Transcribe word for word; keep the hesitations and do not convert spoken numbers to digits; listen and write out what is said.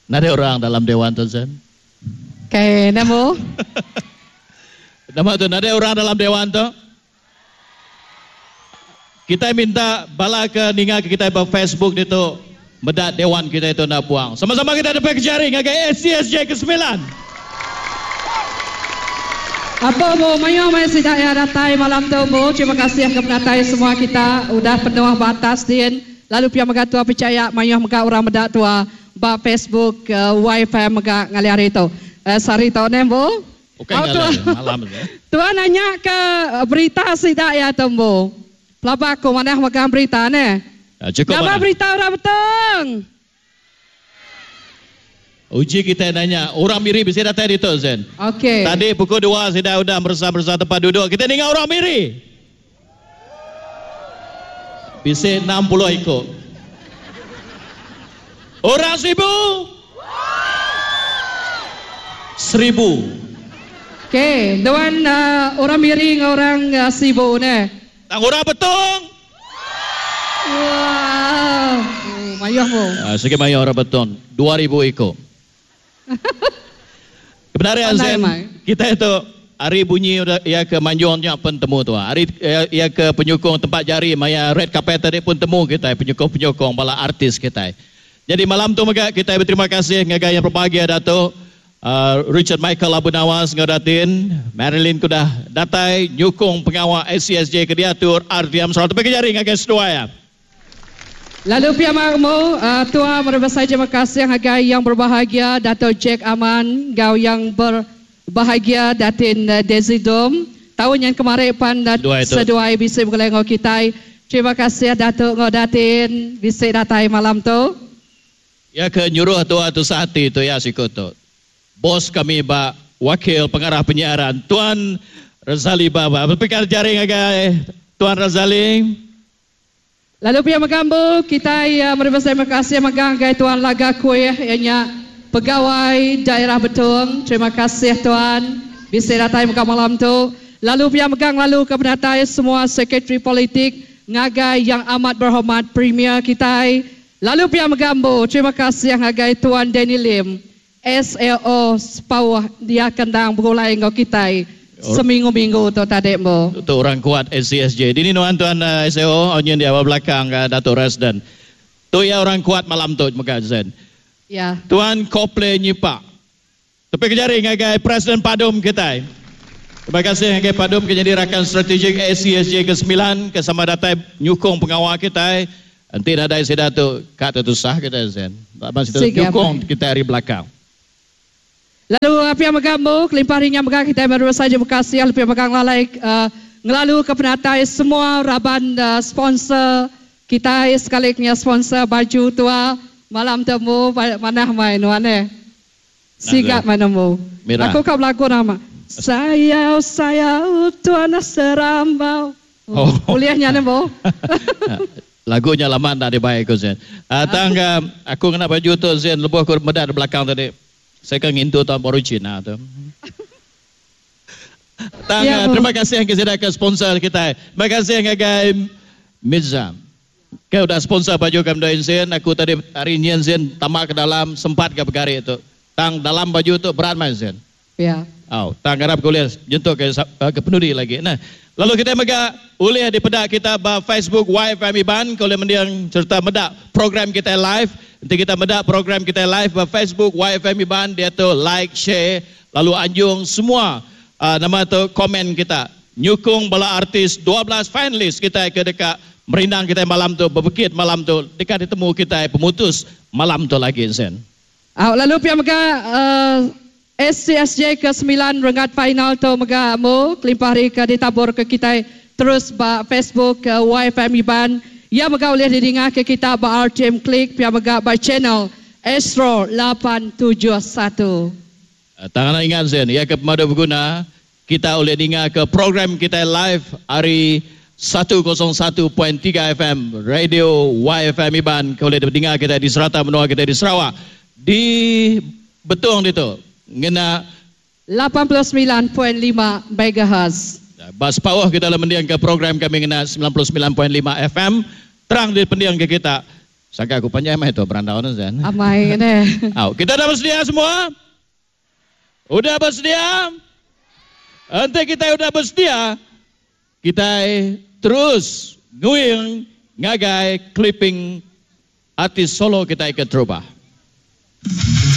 Nada orang dalam dewan tu, Zen. Okey, nemu. Nama tu, nada orang dalam dewan tu. Kita minta bala ke ninga ke kita ba Facebook itu medak dewan kita itu nak buang. Sama-sama kita ada jari ngagai S C S J kesembilan. Apa bu, mayo mai sidak ya datai malam tu bu. Terima kasih ke penatai semua kita udah penuh batas din. Lalu pihak mega tua percaya mayo mega orang medak tua ba Facebook uh, wifi mega ngali hari tu. Uh, sari tu ne bu. Okey ngali malam ni. Tua nanya ke berita sidak ya tu bu. Pelaba aku mana megang berita ne? Ya, cukup nama mana? Berita orang beteng. Uji kita nanya, orang Miri bisa datang itu Zen. Okey. Tadi pukul dua sudah udah bersama-bersama tempat duduk. Kita dengar orang Miri. Bisa enam puluh ikut. Orang seribu. Seribu. Okey, dewan uh, orang Miri dengan orang uh, Sibu ne. Tang orang betong. Wow, oh, mayuh mu. Uh, sikit mayuh orang betong, dua ribu ikut. Kebenaran Zen, kita itu hari bunyi ya ke manjungnya pun temu tu. Hari ya, ya ke penyokong tempat jari maya red carpet tadi pun temu kita penyokong-penyokong bala artis kita. Jadi malam tu mega kita berterima kasih ngagai yang berbahagia Datuk uh, Richard Michael Abu Nawas ngadatin Marilyn kudah datai nyukung pengawal S C S J ke diatur R T M Sarawak. Tepi jari ngagai sedua ya. Lalu pihak makmu uh, tua merebasai terima kasih ngagai yang berbahagia Dato' Jack Aman, gau yang berbahagia Datin uh, Desi Dom. Tahun yang kemarin pan uh, seduai bisa bergelai ngau kitai. Terima kasih Dato' ngau Datin bisa datai malam tu. Ya ke nyuruh tua tu sehati tu ya sikut tu. Bos kami bak wakil pengarah penyiaran Tuan Razali Baba. Berpikir jaring agai Tuan Razali. Lalu pihak megambu kita ya menerima terima kasih megang agai Tuan Laga Kuih ianya pegawai daerah Betong. Terima kasih Tuan bisa datai muka malam tu. Lalu pihak megang lalu ke penatai semua sekretari politik ngagai yang amat berhormat Premier kita. Lalu pihak megambu terima kasih ngagai Tuan Danny Lim S L O Sepauh dia kendang berulai ngau kita seminggu-minggu tu tadi mo. Itu orang kuat S C S J. Dini nuan tuan uh, S L O onyen di awal belakang uh, Datuk Resden. Tu ya orang kuat malam tu mega Zen. Ya. Tuan Kople Nyipak. Tepi kejari ngagai Presiden Padum kita. Terima kasih ngagai Padum ke jadi rakan strategik S C S J kesembilan ke sama datai nyukung pengawal kita. Nanti nadai seda tu kat tu sah kita Zen. Masih tu nyukung kita dari belakang. Lalu pihak megambu, kelimpah ringan megang kita baru saja berkasih, lalu pihak megang lalai uh, ngelalu ke penatai semua raban uh, sponsor kita sekali punya sponsor baju tua malam temu manah main wane. Sigap manamu. Aku kau berlagu nama. Sayau sayau tuan serambau. Oh. Kuliahnya nemo. Lagunya lama tak dibayar aku Zen. Uh, tangga aku kena baju tu Zen lebuh aku medak di belakang tadi. Saya kan ngintu tahun baru Cina tu. Tang, ya, terima kasih yang kita ke sponsor kita. Terima kasih yang ke Mizam. Kau dah sponsor baju kami dah Zen. Aku tadi hari ni Zen tamak ke dalam sempat ke bergari itu. Tang dalam baju tu berat main Zen. Ya. Oh, tang harap kau lihat jentuk ke ke penuri lagi. Nah, lalu kita mega ulih di pedak kita ba Facebook Y F M Iban kalau mendiang serta medak program kita live. Nanti kita medak program kita live ba Facebook Y F M Iban dia tu like, share, lalu anjung semua uh, nama tu komen kita. Nyukung bala artis dua belas finalis kita ke dekat merindang kita malam tu berbekit malam tu dekat ditemu kita pemutus malam tu lagi Zen. Ah, lalu pihak mega uh, S C S J ke sembilan renggat final tu mega mu kelimpah hari ke ditabur ke kita terus ba Facebook ke Y F M Iban. Ya mega boleh didengar ke kita ba R T M Klik pihak mega ba channel Astro lapan tujuh satu. Tangan ingat Zen, ya ke pemadu berguna kita boleh dengar ke program kita live hari satu kosong satu titik tiga F M Radio Y F M Iban. Kau boleh dengar kita di serata menua kita di Sarawak di Betong itu ngena lapan puluh sembilan titik lima megahertz. Bas pawah kita dalam mendiang ke program kami ngena sembilan puluh sembilan titik lima F M terang di pendiang ke kita Sangka aku panjai mai tu berandau tu Zen. Amai ne. Au, kita dah bersedia semua? Udah bersedia? Enti kita udah bersedia, kita terus nguing ngagai clipping artis solo kita ke terubah.